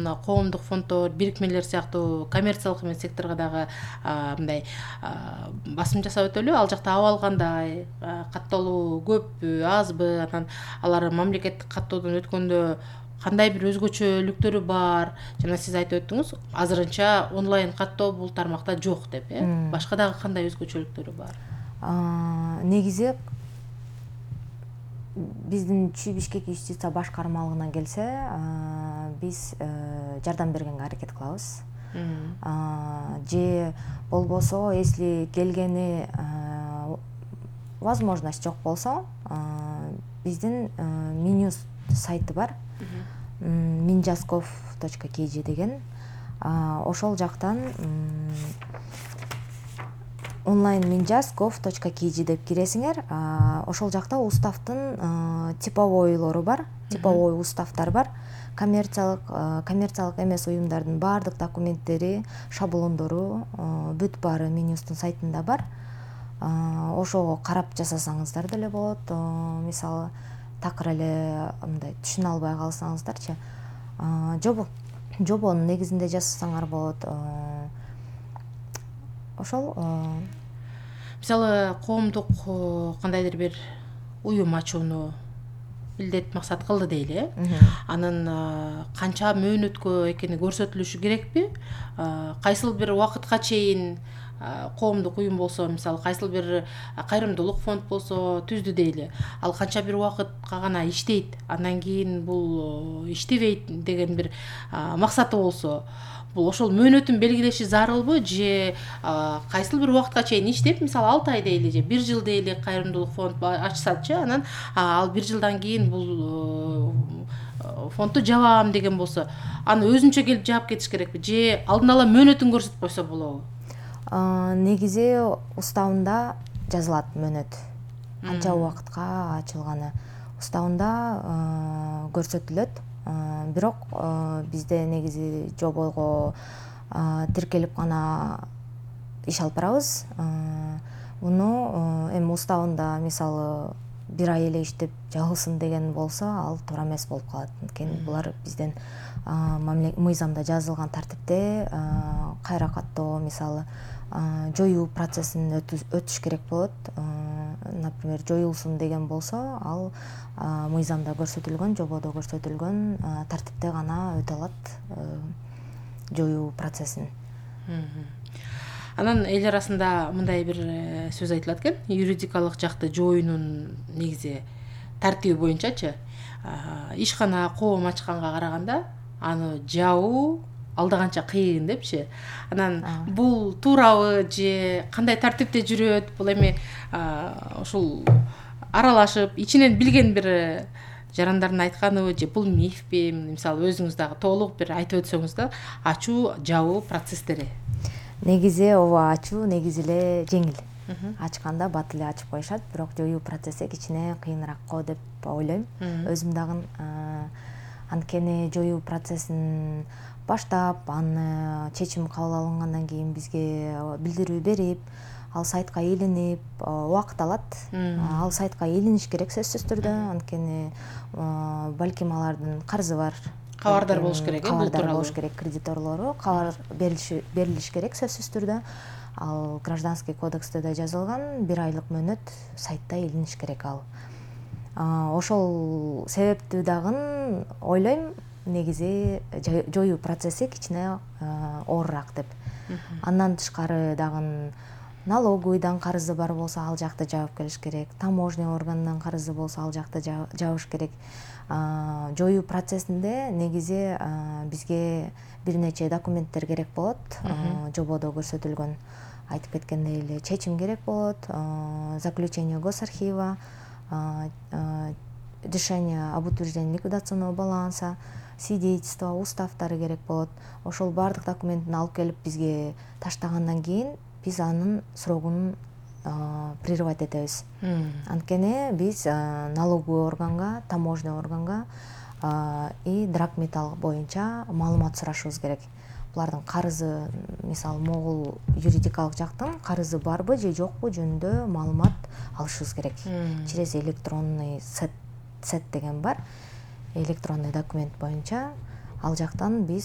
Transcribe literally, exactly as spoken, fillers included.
мына коомдук фонддор, бирикмелер сыяктуу коммерциялык эмес секторго дагы мындай басым жасап өтөлү. Ал жакта абал кандай, катталуу көппү, азбы, анан алар мамлекеттик каттоодон өткөндө кандай бир өзгөчөлүктөрү бар? Жана сиз айтып өттүңүз, азырынча онлайн каттоо бул тармакта жок деп, э? Башка дагы кандай өзгөчөлүктөрү бар? Негизи биздин Чүй Бишкек юстиция башкармалыгына келсе, биз жардам бергенге аракет кылабыз. Же болбосо, если келгени возможность жок болсо, биздин Минюст сайты бар. минжасков точка kg деген. Ошол жактан онлайн минжасков точка kg деп киресиңер. Ошол жакта уставтын типовойлору бар, типовой уставтар бар. Коммерциялык, коммерциялык эмес уюмдардын баардык документтери, шаблондору бүт баары Минюсттун сайтында бар. Ошого карап жасасаңыздар деле болот. Мисалы, такыр эле мындай түшүнө албай калсаңыздарчы, жобо жобонун негизинде жасасаңар болот. Ошол мисалы коомдук кандайдыр бир уюм ачууну милдет максат кылды дейли, э? Анын канча мөөнөткө экени көрсөтүлүшү керекпи? Кайсыл бир убакытка чейин коомдук уюм болсо, мисалы, кайсыл бир кайрымдуулук фонд болсо түздү дейли. Ал канча бир убакытка гана иштейт, андан кийин бул иштебейт деген бир максаты болсо, бул ошол мөөнөтүн белгилеши зарылбы? Же кайсыл бир убакытка чейин иштеп, мисалы алты ай дейли же бир жыл дейли кайрымдуулук фонд ачсачы, анан ал бир жылдан кийин бул фондду жабам деген болсо, аны өзүнчө келип жаап кетиш керекпи? Же алдын ала мөөнөтүн көрсөтүп койсо болобу? Негизи уставында жазылат мөөнөт. Канча убакытка ачылганы уставында көрсөтүлөт. Бирок бизде негизи жобого тиркелип гана иш алып барабыз. Муну эми уставында мисалы бир ай эле иштеп жабылсын деген болсо, ал туура эмес болуп калат. Анткени булар бизден мыйзамда жазылган тартипте кайра каттоо, мисалы жоюу процессин өтүш керек болот. Например, жоюлсун деген болсо, ал мыйзамда көрсөтүлгөн, жободо көрсөтүлгөн тартипте гана өтө алат жоюу процессин. Анан эл арасында мындай бир сөз айтылат экен, юридикалык жакты жоюунун негизи тартиби боюнчачы, ишкана коом ачканга караганда аны жабуу алда канча кыйын депчи. Анан бул туурабы же кандай тартипте жүрөт? Бул эми ушул аралашып, ичинен билген бир жарандардын айтканыбы же бул мифпи? Мисалы, өзүңүз дагы толук бир айтып өтсөңүз да, ачуу, жабуу процесстери. Негизи ооба, ачуу негизи эле жеңил. Ачканда бат эле ачып коюшат, бирок жоюу процесси кичине кыйыныраак го деп ойлойм. Өзүм дагы анткени жоюу процессин баштап, аны чечим кабыл алынгандан кийин бизге билдирүү берип, ал сайтка илинип, убакыт алат. Ал сайтка илиниш керек сөзсүз түрдө, анткени балким алардын карызы бар. Кабардар болуш керек, бул тууралуу. Кабардар болуш керек, кредиторлору кабар берилиш керек сөзсүз түрдө. Ал гражданский кодексте да жазылган, бир айлык мөөнөт сайтта илиниш керек ал. Ошол себептүү дагы ойлойм, негизи жоюу процесси кичине оорураак деп. Андан тышкары дагы налоговыйдан карызы бар болсо, ал жакты жаап келиш керек. Таможня органынан карызы болсо, ал жакты жабыш керек. Жоюу процессинде негизи бизге бир нече документтер керек болот. Жободо көрсөтүлгөн, айтып кеткендей эле, чечим керек болот, заключение госархива, решение об утверждении ликвидационного баланса, свидетельство, уставтары керек болот. Ошол баардык документин алып келип бизге таштагандан кийин биз анын срогун прерывать этебиз. Анткени биз налоговый органга, таможня органга и драгметалл боюнча маалымат сурашыбыз керек. Булардын карызы, мисалы, могул юридикалык жактын карызы барбы же жокпу жөнүндө маалымат алышыбыз керек. Через электронный сет сет деген бар. Электронный документ боюнча ал жактан биз